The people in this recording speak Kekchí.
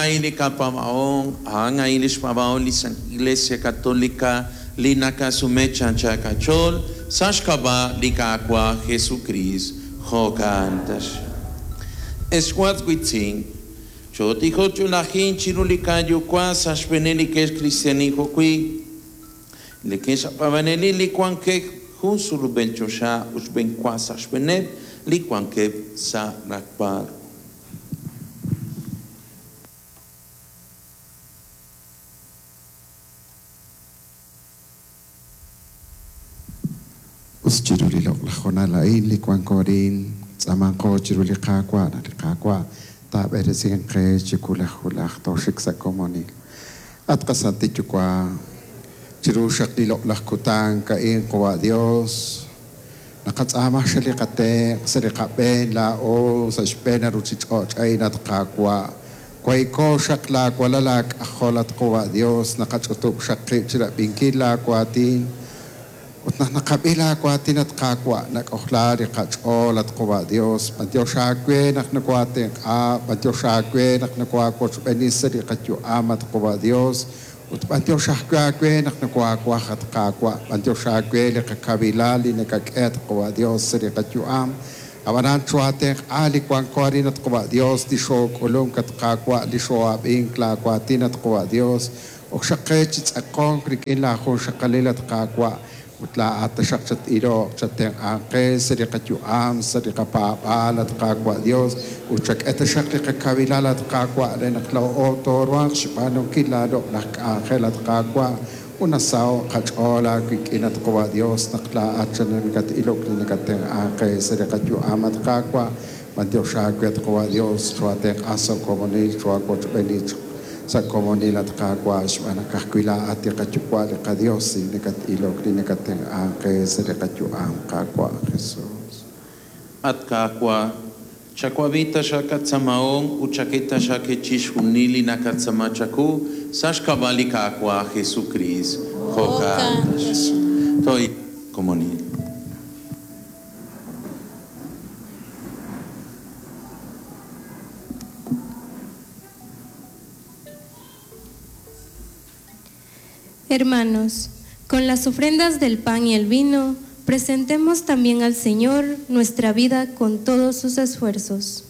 A'an a'in li qapaab'ahom, a'an a'in lix paab'ahom li Iglesia Católica li nakasume chancha qach'ool sa' xk'ab'a' li Qaawa' Jesukriist. Jo'kan taxaq. Ex was wiitz'in, chootijok chulajin chiru li Qayuwa' sa' xb'eeneb' li ke'xkristiaanil jo'wi' li ke'xpaab'anelil li wankeb' jun sulub'el choxa ut xb'enwa sa' xb'eeneb' li wankeb' sa' raqb'al. Us chiru li loq'laj hoonal a'in li wanko arin, tz'aamanqo chiru li Qaawa' naq li Qaawa' taab'eresinq qe chi wulaj wulaj tooxik sa' komonil. At qaSantil Yuwa', chiru xaq li loq'laj kutan a'in Qawa' Dios, naqatz'aama xa li qatenq' sa' li qab'een laa'o sa' xb'een ruchich'och' a'in at Qaawa'. Waiko xaq laawalal aak'ajol at Qawa' Dios, naqach'utub' xaq qib' chirab'inkil laawaatin. Ut naq naqab'i laawaatin at Qaawa', nak'ojla li qach'ool at Qawa' Dios, b'antiox aawe naq nokoaatenq'a, b'antiox aawe naq nokoaawochb'eeni sa' li qayu'am at Qawa' Dios, ut b'antiox ajwi' aawe naq nokoaawaj at Qaawa', b'antiox aawe li qakawilal li nakak'e at Qawa' Dios sa' li qayu'am. Ab'anan chooaatenq'a li wanko arin at Qawa' Dios, li xook'ulunk at Qaawa', li xoo'ab'ink laawaatin at Qawa' Dios, ok xaq qe chi tz'aqonk rik'in laajunxaqalil at Qaawa', ut laa'at taxaq chat-iloq, chattenq'anq qe sa' li qayu'am, sa' li qapaab'aal at Qaawa' Dios, ut chak'e taxaq li qakawilal at Qaawa' re naq laa'o tooruhanq xb'aanunkil laaloq'laj k'anjel at Qaawa', ut nasaho'k qach'ool aawik'in at Qawa' Dios naq laa'at nakatilok li nakatenq'anq qe sa' li qayu'am at Qaawa', b'antiox aawe at Qawa' Dios, chooaatenq'a sa' komonil, chooaawochb'eeni sa' komonil at Qaawa' xb'aan naq ka'ajwi' laa'at li qaYuwa' li qaDios li nakatilok li nakatenq'anq qe sa' li qayu'am Qaawa' Jesus. At Qaawa', chawab'i taxaq qatz'aamahom ut chak'e taxaq qe chixjunil li naqatz'aama chawu sa' xk'ab'a' li Qaawa' Jesukriist. Jo'kan taxaq. Toy komonil. Hermanos, con las ofrendas del pan y el vino, presentemos también al Señor nuestra vida con todos sus esfuerzos.